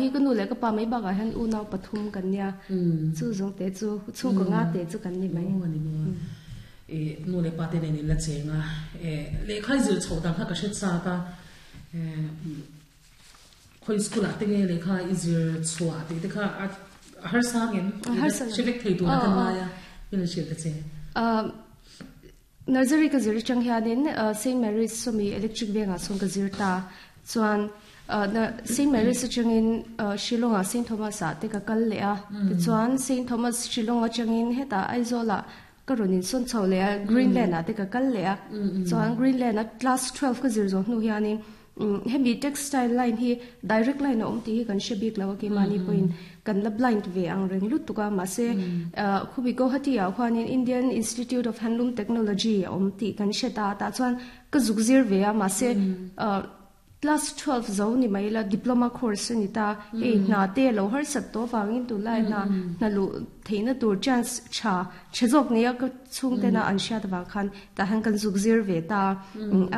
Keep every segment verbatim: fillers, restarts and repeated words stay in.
hi ka nu leh ka pa mai bakah hian unau pathum kan nia. Chu zawng te chu chhungkaw nga te chu kan ni mai. Aw ani maw. E nu leh pa te nen in la cheng a. E lehkha i zir chhoh dang kha ka hre chak a. E khawi school ah te nge lehkha i zir chhuah tih te kha a harsa ngem? Hre vek thei tur a kan ngai a. Min lo hrilh ta che. Nursery ka zir atang hianin Saint Mary's sawmi Electric Vengah chuan ka zir ta. Chuan Saint Mary's atangin Shillong ah Saint Thomas ah te ka kal leh a. Tichuan Saint Thomas Shillong atangin hetah Aizawl ah ka rawn insawn chho leh a, Greenland ah te ka kal leh a. Chuan Greenland a class twelve ka zir zawh hnu hianin hemi textile line hi direct line a awm tih hi kan hre bik lo a, keimahni pawhin kan la blind ve ang reng lutuk a. Mahse khubi Guwahati ah khuanin Indian Institute of Handloom Technology a awm tih kan hre ta a, tah chuan ka zuk zir ve a. Mahse class twelve zo ni mai la, diploma course a ni ta. Hei hna te a lo harsat tawh avangin tunlai hna hna luh theihna tur chance tha tha zawk nia ka chhungtena an hriat avang khan tah hian kan zuk zir ve ta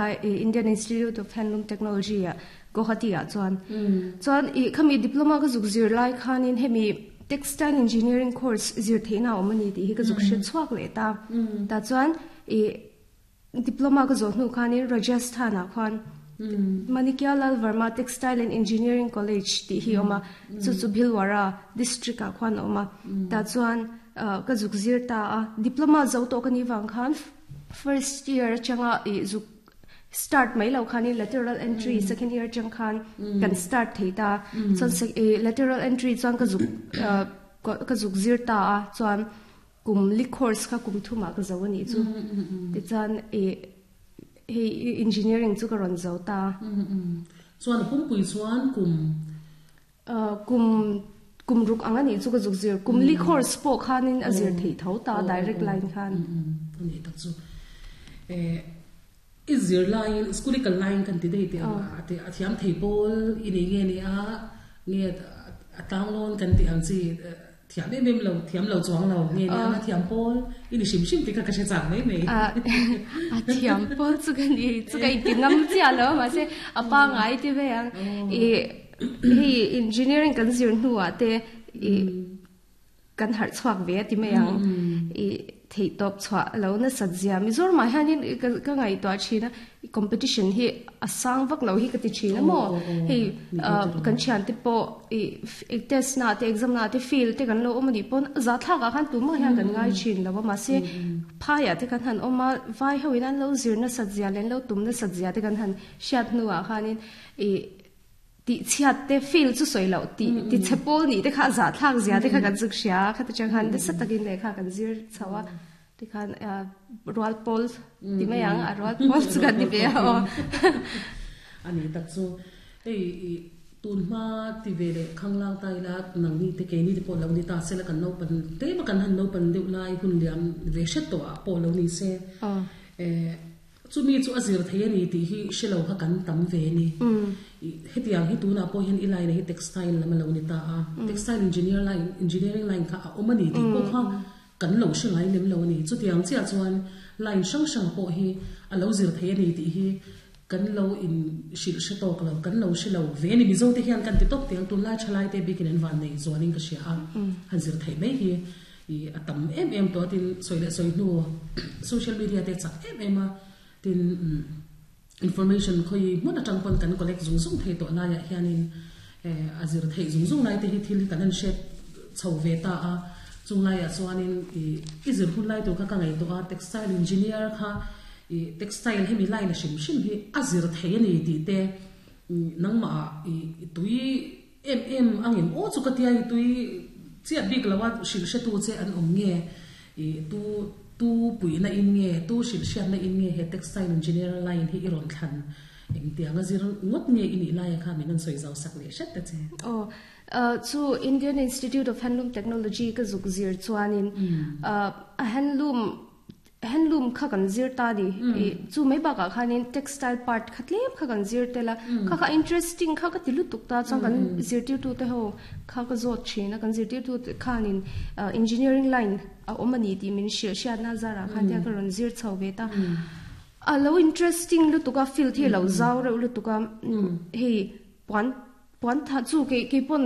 a, Indian Institute of Handloom Technology ah Guwahati ah chuan. Chuan i khami diploma ka zuk zir lai khanin hemi textile engineering course zir theihna a awm a ni tih hi ka zuk hre chhuak leh ta. Tah chuan i diploma ka zawh hnu khanin Rajasthan ah khuan Manikya Lal Verma Textile and Engineering College tih hi a awm a, chu chu Bhilwara district ah khuan a awm a. Tah chuan ka zuk zir ta a, diploma zo tawh ka nih vang khan first year atanga ih zuk start mai lo khanin lateral entry second year atang khan kan start thei ta. Chuan lateral entry chuan ka zuk ka zuk zir ta a, chuan kum li course kha kum thumah ka zo a nih chu. Tichuan ih hei engineering chu ka rawn zo ta. Chuan pumpui chuan kum kum kum ruk ang a nih chu ka zuk zir. Kum li course pawh khanin a zir theih tho ta direct line khan. A nih tak chu. Eh i zir laiin school i kal laiin kan ti daih teh ang a ti a thiam thei pawl i nei nge ni a nge a tlanglawn kan tih ang chi thiam em em lo thiam lo chuang lo nge ni a thiam pawl i ni hrim hrim tih kha ka hre chak mai mai. A thiam pawl chu ka ni chu ka inti ngam chiah lo mahse a pangai ti ve ang i hei engineering kan zir hnuah te i kan harh chhuak ve a ti mai ang i theih tawp chhuah lo nasat zia Mizoramah hianin ka ngaihtuah thin a competition hi a sang vak lo hi ka ti thin a maw hei kan thian te pawh i test na te exam na te fail te kan lo awm a nih pawn zathlak ah khan tumah hian kan ngai thin lo a mahse phaiah te kan han awm a vai ho in an lo zir nasat zia leh an lo tum nasat zia te kan han hriat hnuah khanin i tih chhiat te fail chu sawi loh tih ti chhe pawl nih te kha a zahthlak zia te kha kan zuk hria a khata chang khan nasa takin lehkha kan zir chho a tikhan rual pawl ti mai ang a rual pawl chu kan ni ve a aw. Ani tak chu hei tun hma ti ve leh khanglang ta ila nangni te keini te pawh lo ni ta sela kan naupan te ma kan han naupan deuh lai hun liam ve hret tawh ah pawh lo ni se eh Chumi chu a zir thei a ni tih hi hre lo kha kan tam ve a ni. Hetiang hi tunah pawh hian i line hi textile lam a lo ni ta a, textile engineer line, engineering line kha a awm a ni tih pawh kha kan lo hre ngai lem lo a ni. Chutiang chiah chuan line hrang hrang pawh hi a lo zir thei a ni tih hi kan lo in hrilh hre tawk lo, kan lo hre lo ve a ni. Mizo te hian kan ti tawp teh ang, tunlai thalai te bikin an van nei zualin ka hria a, han zir theih mai hi. I a tam em em tawh a tin sawi leh sawi hnu social media te chak em em a tin information khawi hmun atang pawn kan collect zung zung thei tawh laiah hianin eh a zir theih zung zung lai te hi thil hi kan han hriat chho ve ta a chung laiah chuanin i i zir hun lai tur kha ka ngaihtuah a textile engineer kha i textile hemi line a hrim hrim hi a zir thei a ni tih te nangmah i tui Em em ang em aw chu ka tia i tui chiat bik lo a hrilh hretu che an awm nge i tu tu puihna in nge tu hrilh hriatna in nge he textile engineer line hi i rawn thlan engtiang a zir ngawt nge i nih laia kha min rawn sawi zau sak leh hret ta che. Aw chu Indian Institute of Handloom Technology ka zuk zir chuanin a handloom Handloom kha kan zir ta ni. I chu mai bakah khanin textile part kha tlem kha kan zir tel a. Kha kha interesting kha ka ti lutuk ta chuan kan zirtirtute ho kha ka zawt thin a. Kan zirtirtute khanin engineering line a awm a ni tih min hrilh hriatna zarah khan tia ka rawn zir chho ve ta. A lo interesting lutuk a, field hi a lo zau reuh lutuk a. Hei puan puan tha chu kei kei pawn